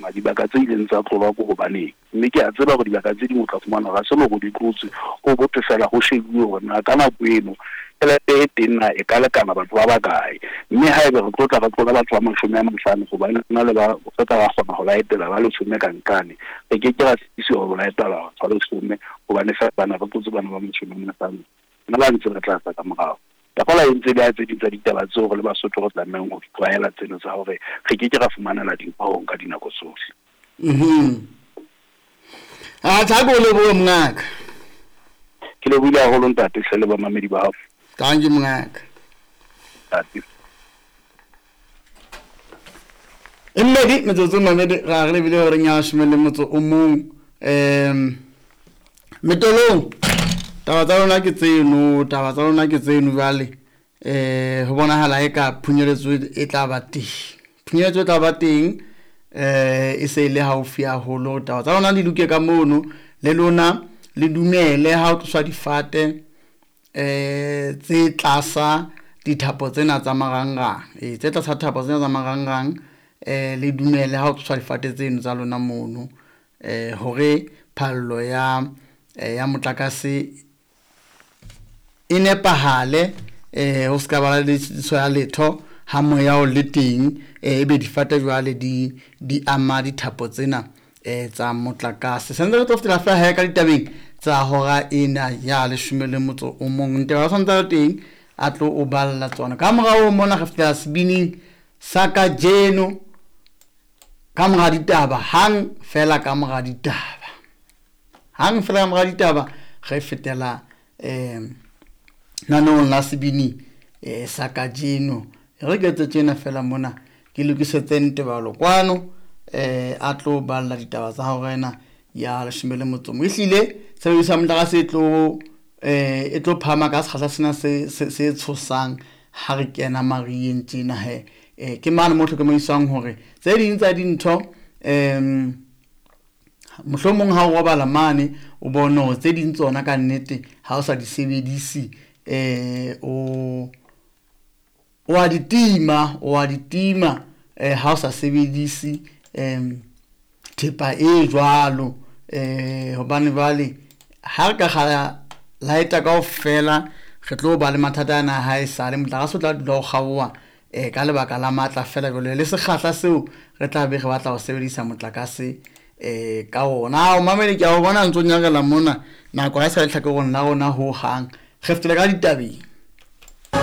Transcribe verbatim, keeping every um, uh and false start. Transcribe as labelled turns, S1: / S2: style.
S1: na dibaka tse ileng tsa tlolwa ke hobaneng. Mme ke a tseba hore dibaka tse ding o tla fumana hore ha se le hore di tlotswe, ho bothwe fela ho shebuwe hore na ka nako eno tjhelete e teng na e ka lekana batho ba bakae. Mme haebe re tlo tla re tlola batho ba mashome a mahlano hobane rena le ba re tla ra kgona ho laetela ba leshome ka nqane, re ke ke ra sitisiwa ho laetela batho ba leshome hobane fela bana re tlotse bana ba mashome a mahlano nna ba ntse ba tla tla ka morao. Ka kgola e ntse le ya tse ding tsa ditaba tseo re le Basotho re tlamehang ho di tlwaela tseno tsa hore re ke ke ra fumanela dintho ka dinako tsohle.
S2: Mhm. A tha go lebohe mongaka.
S1: Ke lebohile haholo ntate hle le bamamedi ba hao.
S2: Thank you mongaka.
S1: Ntate.
S2: E mmedi metsotso mamedi ra re lebile hore nya leshome le motso o mong em metolong. Taba tsa lona ke tseno, taba tsa lona ke tseno jwale. Eh ho bonahala e ka phunyeletso e tla ba teng. Phunyeletso e tla ba teng eh e se le haufi haholo. Taba tsa lona di loke ka mono le lona le dumele ha o tloswa difate eh tse tlasa dithapo tsena tsa marangrang. Eh tse tlasa thapo tsena tsa marangrang eh le dumele ha o tloswa difate tseno tsa lona mono eh hore phallo ya ya motlakase e nepahale eh ho ska ba le tshitiso ya letho ha moya o le teng eh ebe difate jwale di di ama dithapo tsena eh tsa motlakase. Sentse re tlo fetela fela he ka ditabeng tsa hora ena ya leshome le motso o mong. Nte ba santse le teng a tlo o balla tsona. Ka morao mona re fetela sebining sa kajeno ka mora ditaba, hang fela ka mora ditaba. Hang fela ka mora ditaba re fetela eh naneong la sebini eh sa kajeno. Re ke etse tjena fela mona ke lokisetse Ntebalo kwano eh a tlo balla ditaba tsa hora ena ya leshome le motso o mong. Ehlile tshebediso ya motlakase e tlo eh e tlo phahama ka sekgahla sena se se se tshosang ha re kena mariheng tjena he. Eh ke mane mo hlokomediswang hore tse ding tsa dintho em mohlomong ha o robala mane o bone hore tse ding tsona ka nnete ha o sa di sebedise eh o o a di tima, o a di tima eh ha o sa sebedise em thepa e jwalo eh hobane jwale ha re ka kgala lighter kaofela re tlo ba le mathata ana ha e sale motlakase o tla dula o kgaoha eh ka lebaka la matla fela jwale le sekgahla seo re tla be re batla ho sebedisa motlakase eh ka ona. O mamele ke a o bona ntso nyarela mona nako ha e sa le tlhakorong la rona ho hang. Re fetela ka ditabeng.